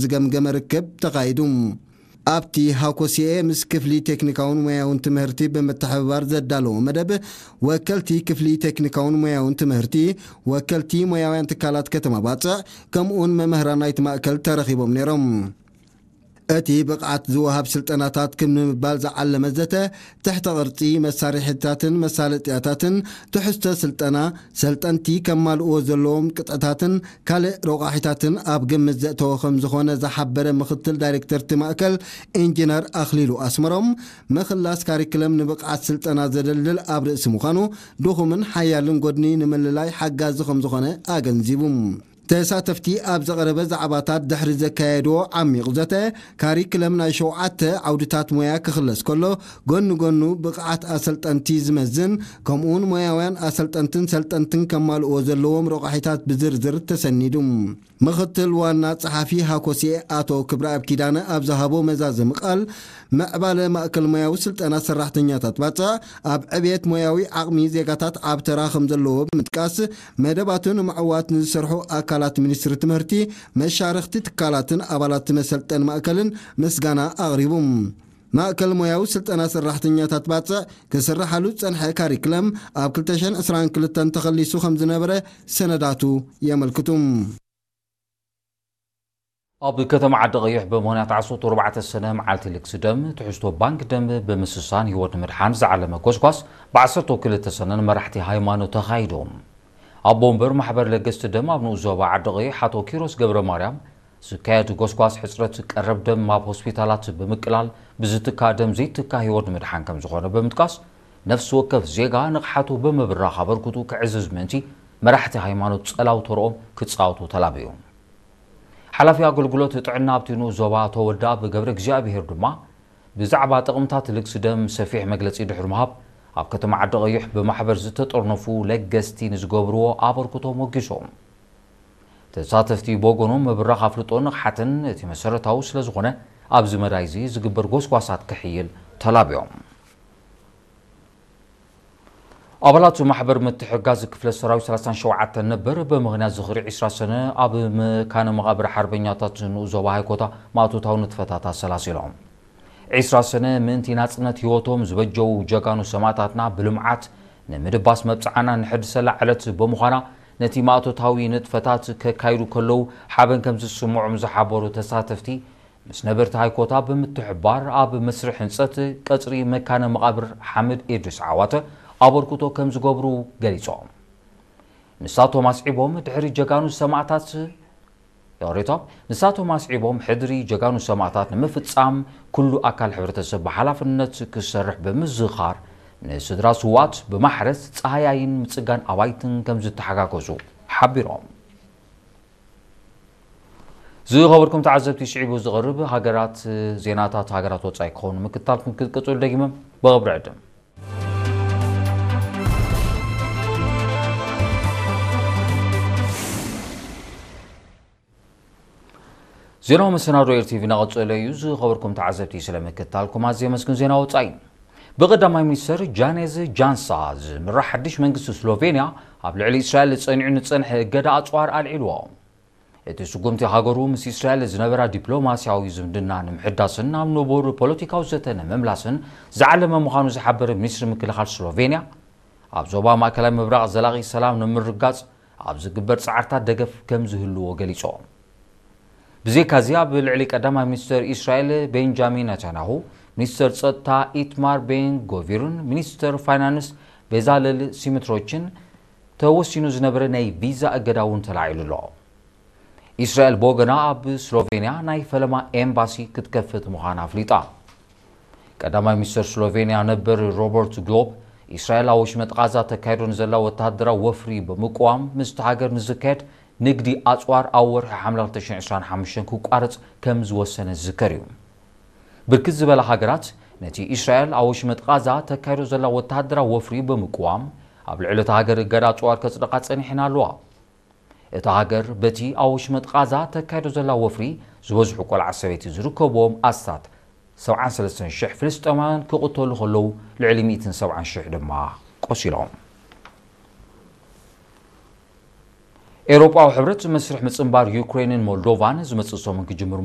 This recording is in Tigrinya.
ዝገምገመ ርክብ ተኻይዱ። ኣብቲ ሃኮሲኤ ምስ ክፍሊ ቴክኒካውን ሞያውን ትምህርቲ ብምትሕብባር ዘዳለዎ መደብ፣ ወከልቲ ክፍሊ ቴክኒካውን ሞያውን ትምህርቲ፣ ወከልቲ ሞያውያን ትካላት ከተማ ባጽዕ፣ ከምኡውን መምህራን ናይቲ ማእከል ተረኺቦም ነይሮም። እቲ ብቕዓት ዝወሃብ ስልጠናታት ክብ ንምባል ዝዓለመ ዘተ፣ ትሕተ ቅርጺ፣ መሳርሒታትን መሳለጥያታትን፣ ትሕዝቶ ስልጠና፣ ሰልጠንቲ ከማልእዎ ዘለዎም ቅጥዕታትን ካልእ ረቋሒታትን ኣብ ግምት ዘእተወ ከም ዝኾነ ዝሓበረ ምክትል ዳይሬክተር እቲ ማእከል ኢንጂነር ኣኽሊሉ ኣስመሮም፣ ምኽላስ ካሪክለም ንብቕዓት ስልጠና ዘደልድል ኣብ ርእሲ ምዃኑ፣ ድኹምን ሓያልን ጎድኒ ንምልላይ ሓጋዚ ከም ዝኾነ ኣገንዚቡ። ተሳተፍቲ ኣብ ዝቐረበ ዛዕባታት ድሕሪ ዘካየድዎ ዓሚቕ ዘተ፣ ካሪክለም ናይ ሸውዓተ ዓውድታት ሞያ ክኽለስ ከሎ፣ ጎኒ ጎኑ ብቕዓት ኣሰልጠንቲ ዝመዝን፣ ከምኡውን ሞያውያን ኣሰልጠንትን ሰልጠንትን ከማልእዎ ዘለዎም ረቋሒታት ብዝርዝር ተሰኒዱ። ምኽትል ዋና ጸሓፊ ሃኮሴ ኣቶ ክብረኣብ ኪዳነ ኣብ ዝሃቦ መዛዘሚ ቃል፣ ምዕባለ ማእከል ሞያዊ ስልጠና ሰራሕተኛታት ባጽዕ ኣብ ዕብየት ሞያዊ ዓቕሚ ዜጋታት ዓቢ ተራ ከም ዘለዎ ብምጥቃስ፣ መደባቱ ንምዕዋት ንዝሰርሑ ኣካላት ሚኒስትሪ ትምህርቲ፣ መሻርኽቲ ትካላትን ኣባላት መሰልጠኒ ማእከልን ምስጋና ኣቕሪቡ። ማእከል ሞያዊ ስልጠና ሰራሕተኛታት ባጽዕ ክስርሓሉ ዝጸንሐ ካሪክለም ኣብ ክልተ ሽሕን ዕስራን ክልተን ተኸሊሱ ከም ዝነበረ ሰነዳቱ የመልክቱ። ኣብ ከተማ ዓዲ ቀይሕ ብምኽንያት ዓሰርተ ኣርባዕተ ሰነ መዓልቲ ልግሲ ደም ትሕዝቶ ባንክ ደም ብምስሳን ህይወት ንምድሓን ዝዓለመ ጎስጓስ ብ ዓሰርተ ክልተ ሰነ ንመራሕቲ ሃይማኖት ተኻይዶም። ኣቦ ወንበር ማሕበር ለገስቲ ደም ኣብ ንኡስ ዞባ ዓዲ ቀይሕ ኣቶ ኪሮስ ገብረ ማርያም፣ ዝካየድ ጎስጓስ ሕጽረት ቀረብ ደም ኣብ ሆስፒታላት ብምቅላል ብዝትካእ ደም ዘይትካእ ህይወት ንምድሓን ከም ዝኾነ ብምጥቃስ፣ ነፍሲ ወከፍ ዜጋ ንቕሓቱ ብምብራኽ ኣበርክቱ ክዕዝዝ ምእንቲ መራሕቲ ሃይማኖት ጸላው ተርኦም ክጻወቱ ተላብዩ። ሓላፊ ኣገልግሎት ጥዕና ኣብቲ ንኡስ ዞባ ኣቶ ወልደኣብ ገብረ እግዚኣብሄር ድማ ብዛዕባ ጥቕምታት ልግሲ ደም ሰፊሕ መግለጺ ድሕሪ ምሃብ፣ ኣብ ከተማ ዓዲ ቀይሕ ብማሕበር ዝተጠርነፉ ለገስቲ ንዝገብርዎ ኣበርክቶ ሞጊሶም። ተሳተፍቲ ብወገኖም ምብራኽ ኣፍልጦ ንቕሓትን እቲ መሰረታዊ ስለ ዝኾነ ኣብዚ መዳይ እዚ ዝግበር ጎስጓሳት ክሕይል ተላብዮም። ኣባላት ማሕበር ምትሕጋዝ ክፍለ ሰራዊት ሰላሳን ሸውዓተን ነበር ብምኽንያት ዝኽሪ ዕስራ ሰነ ኣብ መካነ መቓብር ሓርበኛታት ንኡስ ዞባ ሃይኮታ ማእቶታዊ ንጥፈታት ኣሰላሲሎም። ዕስራ ሰነ ምእንቲ ናጽነት ህይወቶም ዝበጀዉ ጀጋኑ ሰማእታትና ብልምዓት ንምድባስ መብጽዓና ንሕድሰላ ዕለት ብምዃና፣ ነቲ ማእቶታዊ ንጥፈታት ከካይዱ ከለዉ ሓበን ከም ዝስምዖም ዝሓበሩ ተሳተፍቲ፣ ምስ ነበርቲ ሃይኮታ ብምትሕብባር ኣብ መስርሕ ህንጸት ቀጽሪ መካነ መቓብር ሓምድ ኢድሪስ ዓዋተ ኣበርክቶ ከም ዝገብሩ ገሊጾም። ንሳቶም ኣስዒቦም፣ ድሕሪ ጀጋኑ ሰማእታት፣ ዮሪቶም፣ ንሳቶም ኣስዒቦም፣ ሕድሪ ጀጋኑ ሰማእታት ንምፍጻም ኩሉ ኣካል ሕብረተሰብ ብሓላፍነት ክሰርሕ ብምዝኻር፣ ንስድራ ስውኣት ብማሕረስ ጸሃያይን ምጽጋን ኣባይትን ከም ዝተሓጋገዙ ሓቢሮም። ዝኸበርኩም ተዓዘብቲ፣ ስዒቡ ዝቐርብ ሃገራት ዜናታት ሃገራት ወጻኢ ክኸውን ምክታልኩም ክትቅጽሉ ደጊመ ብኽብሪ ዕድም። ዜናዊ መሰናዶ ኤር ቲቪ እናቐጸለ እዩ። ዝኸበርኩም ተዓዘብቲ፣ ስለ ምክታልኩም ኣዝየ የመስግን። ዜና ወጻኢ። ብቐዳማይ ሚኒስተር ጃኔዝ ጃንሳ ዝምራሕ ሓድሽ መንግስቲ ስሎቬንያ ኣብ ልዕሊ እስራኤል ጸኒዑ ንጸንሐ እገዳ ኣጽዋር ኣልዒልዎ። እቲ ስጉምቲ ሃገሩ ምስ እስራኤል ዝነበራ ዲፕሎማስያዊ ዝምድና ንምሕዳስን ናብ ንቡር ፖለቲካዊ ዘተ ንምምላስን ዝዓለመ ምዃኑ ዝሓበረ ሚኒስትሪ ምክልኻል ስሎቬንያ፣ ኣብ ዞባ ማእከላይ ምብራቕ ዘላቒ ሰላም ንምርጋጽ ኣብ ዝግበር ጻዕርታት ደገፍ ከም ዝህልዎ ገሊጹ። ብዘይካዚ ኣብ ልዕሊ ቀዳማይ ሚኒስተር እስራኤል ቤንጃሚን ነታንያሁ፣ ሚኒስተር ጸጥታ ኢትማር ቤን ጎቪርን ሚኒስተር ፋይናንስ ቤዛለል ሲምትሮችን ተወሲኑ ዝነበረ ናይ ቪዛ እገዳ እውን ተላዒሉ ኣሎ። እስራኤል ብወገና ኣብ ስሎቬንያ ናይ ፈለማ ኤምባሲ ክትከፍት ምዃና ኣፍሊጣ። ቀዳማይ ሚኒስተር ስሎቬንያ ነበር ሮበርት ግሎብ፣ እስራኤል ኣብ ወሽመጥ ቃዛ ተካይዶ ንዘላ ወተሃደራዊ ወፍሪ ብምቅዋም፣ ምስቲ ሃገር ንዝካየድ ንግዲ ኣጽዋር ኣብ ወርሒ ሓምለ ክልተ ሽሕን ዕስራን ሓሙሽተን ክቋረጽ ከም ዝወሰነ ዝዝከር እዩ። ብርክት ዝበላ ሃገራት ነቲ እስራኤል ኣብ ወሽመጥ ቃዛ ተካይዶ ዘላ ወተሃደራዊ ወፍሪ ብምቅዋም፣ ኣብ ልዕሊ እታ ሃገር እገዳ ኣጽዋር ከጽድቓ ጸኒሐን ኣለዋ። እታ ሃገር በቲ ኣብ ወሽመጥ ቃዛ ተካይዶ ዘላ ወፍሪ ዝበዝሑ ቆልዓ ሰበይቲ ዝርከብዎም ኣስታት ሰብዓን ሰለስተን ሽሕ ፍልስጤማውያን ክቕተሉ ከለዉ፣ ልዕሊ ሚእትን ሰብዓን ሽሕ ድማ ቆሲሎም። ኤውሮጳዊ ሕብረት መስርሕ ምጽንባር ዩክሬንን ሞልዶቫን ዝመጽእ ሰሙን ክጅምር